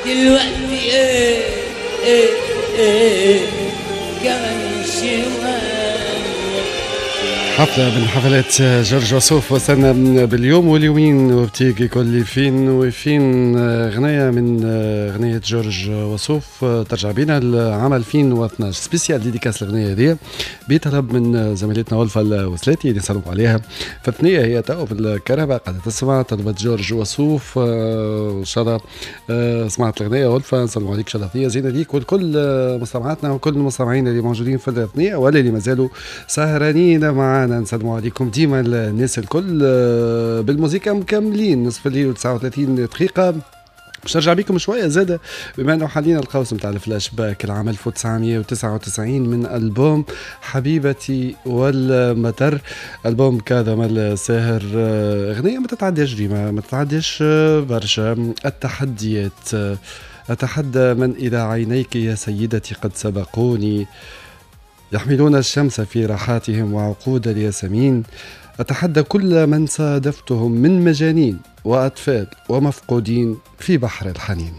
دلوقتي ايه ايه ايه كمان شوية. حفلة من حفلات جورج وسوف وصلنا باليوم واليومين وبتيجي كل فين وفين. غنية من غنية جورج وسوف ترجع بينا لعام 2012، spécial dédicace الغنية هذه بطلب من زميلتنا ألفة الوسلاتي اللي نسلموا عليها في الثنية، هي تو في الكرهبة قاعدة تسمع، طلبت جورج وسوف. إن شاء الله سمعت الغنية ألفة، نسلموا عليك، إن شاء الله ثنية زينة ليك ولكل مستمعاتنا وكل المستمعين اللي موجودين في الثنية ولا اللي مازالوا سهرانين معنا. نسلموا عليكم ديما الناس الكل. بالموسيقى مكملين، نصف الليل و39 دقيقة. باش نرجع بكم شوية زادة بما انه حاليا القوس نتاع الفلاش باك، العام 1999 من البوم حبيبتي والمطر، البوم كاظم الساهر. اغنية ما تتعداش ديما، ما تتعداش برشا، التحديات. أتحدى من إلى عينيك يا سيدتي قد سبقوني، يحملون الشمس في راحاتهم وعقود الياسمين. أتحدى كل من صادفتهم من مجانين وأطفال ومفقودين في بحر الحنين.